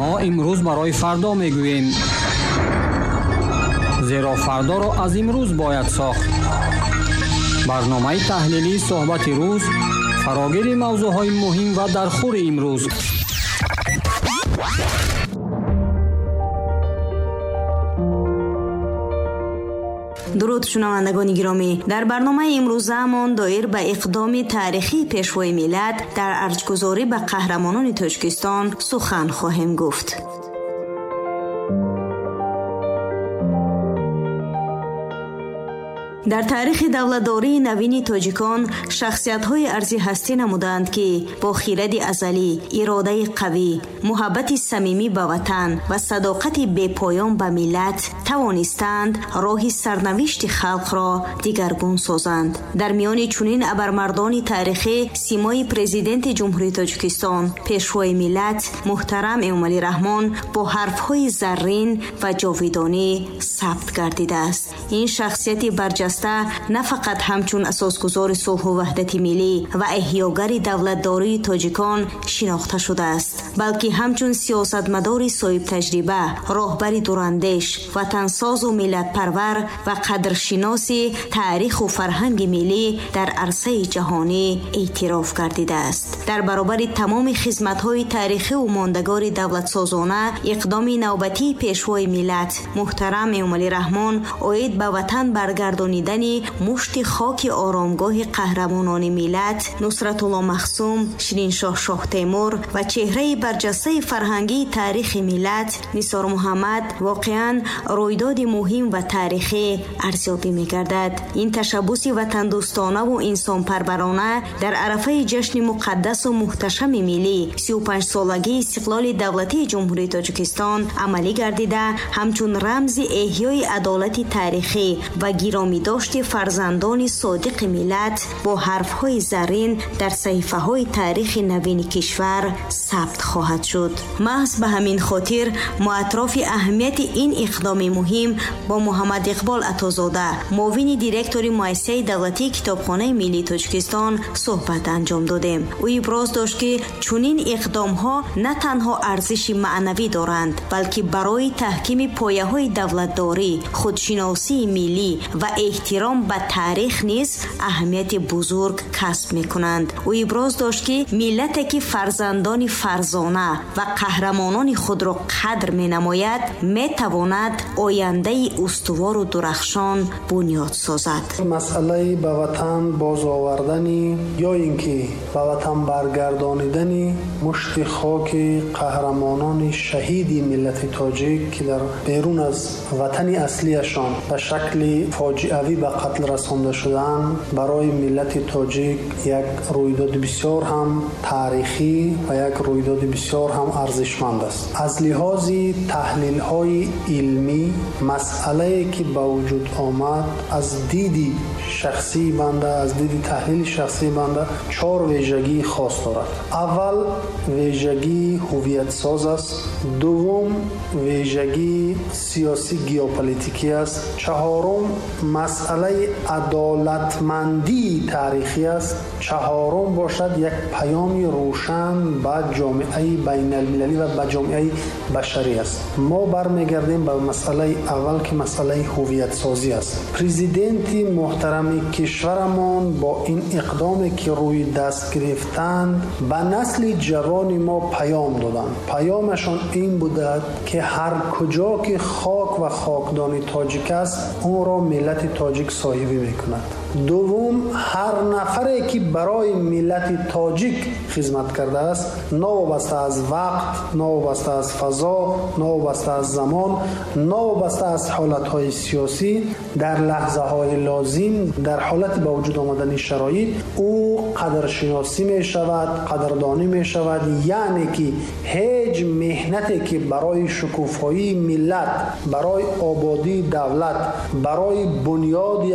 Мо имрӯз барои фардо мегӯем, зеро фардоро аз имрӯз бояд сохт. Барномаи таҳлилии суҳбати рӯз, фарогири мавзӯъҳои муҳим ва дархӯри имрӯз. Дуруд, шунавандагони гиромӣ. Дар барномаи имрӯзаамон доир ба иқдоми таърихии пешвои миллат дар арҷгузорӣ ба қаҳрамонони Тоҷикистон сухан хоҳем гуфт. Дар таърихи давлатдории навини тоҷикон шахсиятҳои арзи ҳастӣ намуданд, ки бо хиради азалӣ, иродаи қавӣ, муҳаббати самимӣ ба ватан ва садоқати бепоён ба миллат тавонистанд роҳи сарнавишти халқро дигаргун созанд. Дар миёни чунин абармардони таърихӣ симои президенти Ҷумҳурии Тоҷикистон, пешвои миллат муҳтарам Эмомалӣ Раҳмон бо ҳарфҳои заррин ва ҷовидонӣ сабт гардидааст. Ин шахсияти барҷаста на фақат ҳамчун асосгузори сулҳу ваҳдати миллӣ ва эҳёгари давлатдории тоҷикон шинохта шудааст, балки ҳамчун сиёсатмадори соҳибтаҷриба, роҳбари дурандеш, ватансозу миллатпарвар ва қадршиноси таъриху фарҳанги миллӣ дар арсаи ҷаҳонӣ эътироф гардидааст. Дар баробари тамоми хизматҳои таърихиву мондагори давлатсозона, иқдоми навбатии пешвои миллат муҳтарам Эмомалӣ Раҳмон оид ба ватан баргардонидани мушти хоки оромгоҳи қаҳрамонони миллат Нусратулло Махсум, Шириншоҳ Шоҳтемур ва чеҳраи барҷастаи фарҳангии таърихи миллат Нисор Муҳаммад воқеан рӯйдоди муҳим ва таърихӣ арзёбӣ мегардад. Ин ташаббуси ватандӯстонаву инсонпарварона дар арафаи ҷашни муқаддасу муҳташами миллӣ 35-солагии истиқлоли давлатии Ҷумҳурии Тоҷикистон амалӣ гардида, ҳамчун рамзи эҳёи адолати таърихӣ ва гиромидошти фарзандони содиқи миллат бо ҳарфҳои заррин дар саҳифаҳои таърихи навини кишвар сабт хоҳад шуд. Маҳз ба ҳамин хотир мо атрофи аҳамияти ин иқдоми муҳим бо Муҳаммад Иқбол Атозода, муовини директори муассисаи давлатии Китобхонаи миллии Тоҷикистон суҳбат анҷом додем. Ӯ иброз дошт, ки чунин иқдомҳо на танҳо арзиши маънавӣ доранд, балки барои таҳкими пояҳои давлатдорӣ, худшиносии миллӣ ва эҳтиром ба таърих низ аҳамияти бузург касб мекунанд. Ӯ иброз дошт, ки миллате ки фарзандони фарзона ва қаҳрамонони худро қадр менамояд, метавонад ояндаи устувору дурахшон бунёд созад. Масъалаи ба ватан бозовардани ё ин ки ба ватан баргардонидани мушти хоки қаҳрамонони шаҳиди миллати тоҷик, ки дар берун аз ватани аслияшон ба шакли фоҷиавӣ ба қатл расонда шудаанд, барои миллати тоҷик як рӯйдоди бисёр ҳам таърихӣ ва як рӯйдоди бисёр ҳам арзишманд аст. Аз лиҳози таҳлилҳои илмӣ масъалае ки ба вуҷуд омад, аз диди шахсии банда, аз диди таҳлили шахсии банда чор вижагии хос дорад. Аввал вижагии ҳувиятсоз аст, дуввум вижагии сиёсӣ геополитикӣ аст, чаҳорум масъалаи адолатмандии таърихӣ аст, чаҳорум бошад як паёми рӯшан ба ҷомеаи байналмилалӣ ва ба ҷомеаи башарӣ аст. Мо бармегардем ба масъалаи аввал, ки масъалаи ҳувиятсозӣ аст. Президенти муҳтарами кишварамон бо ин иқдоме ки рӯи даст гирифтанд, ба насли ҷавони мо паём доданд. Паёмашон ин будад, ки ҳар куҷо ки хок ва хокдони тоҷик аст, онро миллати тоҷик соҳибӣ мекунад. Дуввум, ҳар нафаре ки барои миллати тоҷик хизмат кардааст, новобаста аз вақт, новобаста аз фазо, новобаста аз замон, новобаста аз ҳолатҳои сиёсӣ, дар лаҳзаҳои лозим, дар ҳолати ба вуҷуд омадани шароит, ӯ қадршиносӣ мешавад, қадрдонӣ мешавад. Яъне ки ҳеҷ меҳнате ки барои шукуфоии миллат, барои ободии давлат, барои бунёди